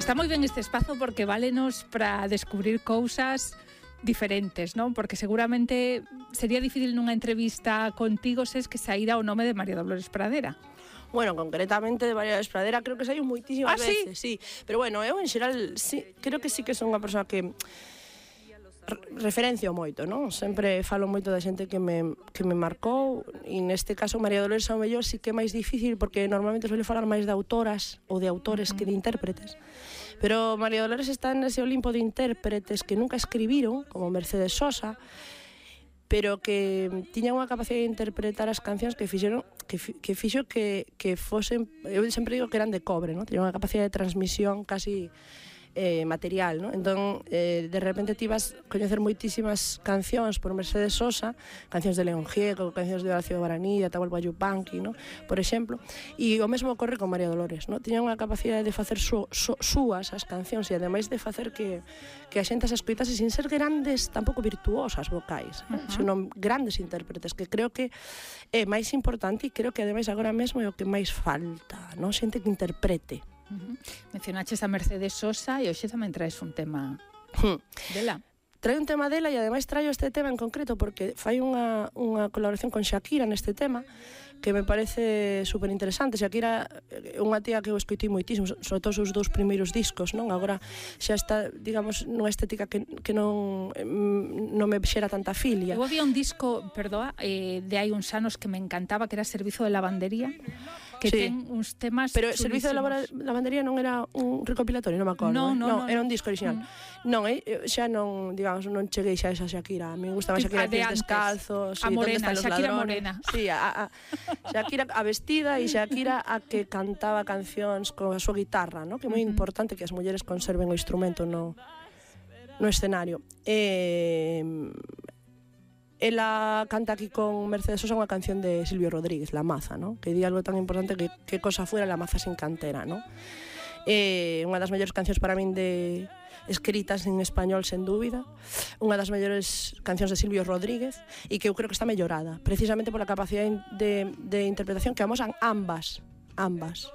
Está moi ben este espazo porque válenos para descubrir cousas diferentes, non? Porque seguramente sería difícil nunha entrevista contigo ses que saíra o nome de María Dolores Pradera. Bueno, concretamente de María Dolores Pradera creo que saiu moitísimas veces, sí. Pero bueno, eu en xeral sí, creo que sí que son unha persoa que referencio moito, non? Sempre falo moito da xente que me marcou, e neste caso María Dolores ao mellor sí que é máis difícil porque normalmente suele falar máis de autoras ou de autores que de intérpretes. Pero María Dolores está nese Olimpo de intérpretes que nunca escribiron, como Mercedes Sosa, pero que tiñan unha capacidade de interpretar as cancións que fixeron que fixo que fosen, eu sempre digo que eran de cobre, non? Tiñan unha capacidade de transmisión casi material, ¿no? Entón, de repente ti vas coñecer moitísimas cancións por Mercedes Sosa, cancións de León Gieco, cancións de Horacio Guaraní, de Atahualpa Yupanqui, ¿no? Por exemplo, e o mesmo ocorre con María Dolores, ¿no? Tiña unha capacidade de facer súas as cancións e ademais de facer que a xente as escoitase sin ser grandes, tampouco virtuosas vocais, senón grandes intérpretes, que creo que é máis importante e creo que ademais agora mesmo é o que máis falta, ¿no? Xente que interprete. Mencionaches a Mercedes Sosa e hoxe tamén traes un tema dela. Trae un tema dela e ademais traio este tema en concreto porque fai unha colaboración con Shakira neste tema que me parece super interesante. Shakira é unha tía que eu escoitei moitísimo, sobre todo os seus primeiros discos, non? Agora xa está, digamos, nunha estética que non me xera tanta filia. Eu había un disco, perdoa, de hai uns anos que me encantaba, que era Servizo de Lavandería, que sí, ten uns temas pero chulísimos. Servizo de Lavandería non era un recopilatorio, non me acordo. No, era un disco original. Non, xa non, digamos, non cheguei xa a esa Shakira. A mí me gustaba Shakira de descalzos, a morena, Shakira ladrones. Morena. Sí, Shakira a vestida e Shakira a que cantaba cancións con a súa guitarra, ¿no? Que é moi importante que as mulleres conserven o instrumento no escenario. Ela canta aquí con Mercedes Sosa unha canción de Silvio Rodríguez, La Maza, ¿no? Que di algo tan importante que cosa fuera La Maza sin cantera, ¿no? Unha das mellores cancións para min escritas en español, sen dúbida, unha das mellores cancións de Silvio Rodríguez e que eu creo que está mellorada precisamente pola capacidade de interpretación que amosan ambas.